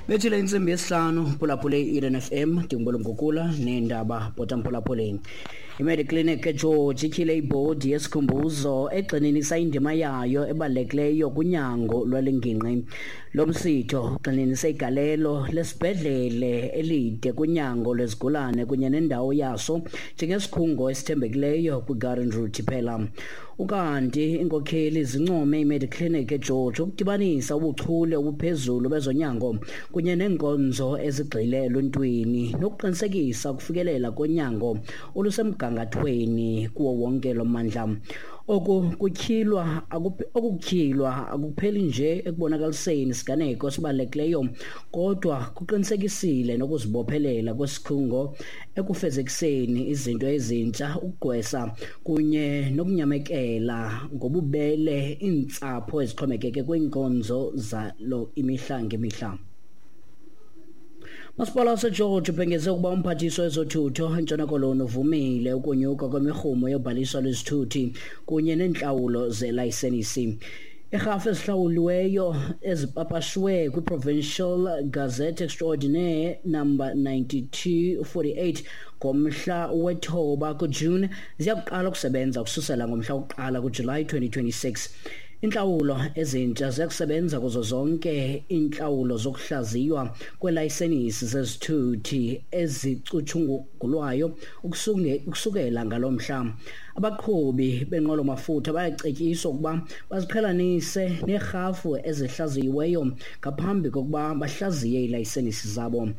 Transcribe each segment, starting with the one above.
Bethile intsimbi yesihlanu, phulaphule i-Eden FM, ndinguBolo Mgugula neendaba bhota mphulaphuleni. IMediclinic eGeorge ityhile ibhodi yesikhumbuzo egxininisa indima yayo ebalulekileyo kunyango lwale ngingqi. Lo msitho ugxininise igalelo lesibhedlele elide kunyango lwezigulane kunye nendawo yaso njengesikhungo esithembekileyo kwiGarden Route iphela. Ukanti iinkokheli zincome iMediclinic eGeorge ukudibanisa ubuchule obuphezulu bezonyango kunye neenkonzo ezigxile eluntwini nokuqinisekisa ukufikelela konyango olusemgangathweni kuwo wonke lo mmandla. Oku kutyhilwa okukutyhilwa akupheli nje ekubonakaliseni isiganeko esibalulekileyo kodwa kuqinisekisile nokuzibophelela kwesikhungo ekufezekiseni izinto ezintsha, ukugqwesa kunye nokunyamekela ngobubele iintsapho ezixhomekeke kwiinkonzo zalo imihla ngemihla. Masipala waseGeorge ubhengeze ukuba umphathiswa wezothutho eNtshona Koloni uvumile ukunyuka kwemirhumo yobhaliso lwezithuthi kunye neentlawulo zelayisenisi. Irhafu ezihlawuliweyo ezipapashwe kwiProvincial Gazette Extraordinaire number 9248 ngomhla wethoba kuJune ziya kuqala ukusebenza ukususela ngomhla wokuqala kuJulayi 2026. Intlawulo ezintsha ziya kusebenza kuzo zonke iintlawulo zokuhlaziywa kweelayisenisi zezithuthi ezicutshungulwayo ukusukela ngalo mhla. Abaqhubi benqwelo-mafutha bayacetyiswa ukuba baziqhelanise neerhafu ezihlaziyiweyo ngaphambi kokuba bahlaziye iilayisenisi zabo.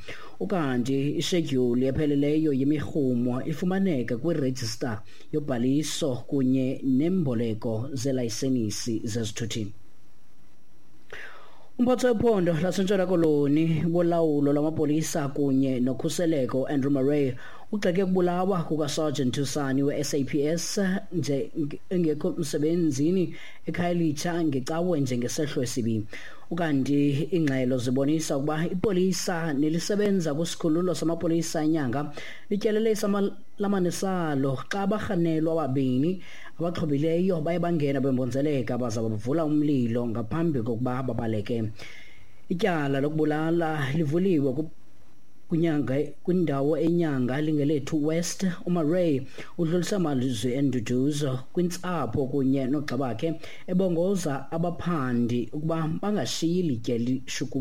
Ukanti ishedyuli epheleleyo yemirhumo ifumaneka kwirejista yobhaliso kunye nemboleko zelayisenisi zezithuthi. Umphathi wephondo laseNtshona Koloni wolawulo lwamapolisa kunye nokhuseleko Andrew Murray ugxeke ukubulawa kukaSergeant Thusani we-SAPS nje engekho msebenzini eKhayelitsha ngecawe njengesehlo esibi. Ukanti iingxelo zibonisa ukuba ipolisa nelisebenza kwisikhululo samapolisa eNyanga lityelele isalamane salo xa abarhanelwa ababini abaxhobileyo baye bangena bembonzeleka baza bavula umlilo ngaphambi kokuba babaleke. Ityala lokubulala livuliwe kwinyanga kwindawo eNyanga Lingelethu West. UMurray udlulisa amazwi enduduzo kwintsapho kunye noogxa bakhe, ebongoza abaphandi ukuba bangashiyi litye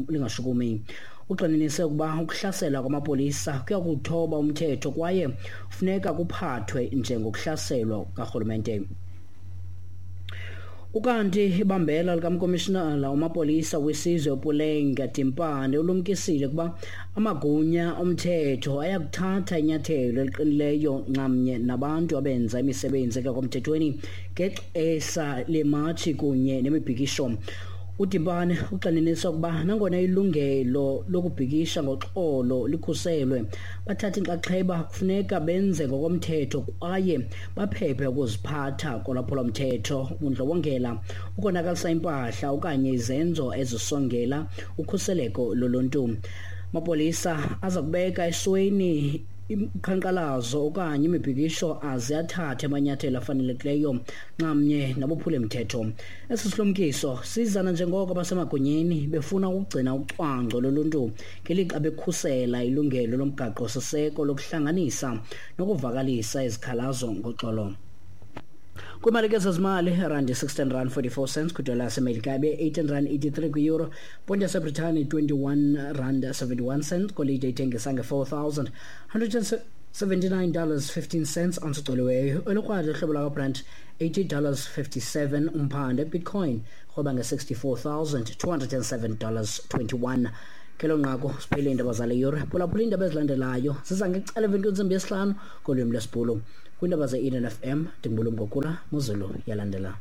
lingashukumi. Ugxininise ukuba ukuhlasela kwamapolisa kuya kuthoba umthetho kwaye funeka kuphathwe njengokuhlaselwa karhulumente. Ukanti ibambela likamkomishinala wamapolisa wesizwe uPuleng Dimpane ulumkisile ukuba amagunya omthetho ayakuthatha inyathelo eliqinileyo nxamnye nabantu abenza imisebenzi engekho mthethweni ngexesha lematshi kunye nemibhikisho. UDimpane ugxininisa ukuba nangona ilungelo lokubhikisha ngoxolo likhuselwe, bathatha inxaxheba kufuneka benze ngokomthetho kwaye baphephe ukuziphatha kolwaphulomthetho, ubundlobongela, ukonakalisa impahla okanye izenzo ezisongela ukhuseleko loluntu. Amapolisa aza kubeka esweni uqhankqalazo okanye imibhikisho aze athathe amanyathelo afanelekileyo nxamnye nabophule mthetho. Esi silumkiso siza nanjengoko abasemagunyeni befuna ukugcina ucwangco loluntu ngelixa bekhusela ilungelo lomgaqo-siseko lokuhlanganisa nokuvakalisa izikhalazo ngoxolo. Kwimali ke zezimali, randi 16 rand 44 cents kwidola yaseMelika, ibe 18 rand 83 kwi-euro, ponti yaseBritane 21 rand 71 cents, golide ithengisa nge-$4,179 dollars 15 cents ounce ugcoliweyo, olukrwada uhlobo lwakwaBrent 80 dollars 57 umphande, Bitcoin rhweba nge-$64,207 dollars 21. Kelo nqaku siphele iindaba zale yure. Phulaphula iindaba ezilandelayo ziza ngecala emveni kwentsimbi yesihlanu ngolwimi lwesiBhulu. Kwiindaba ze-Eden FM, ndinguBulumko Kula, Muzulu yalandela.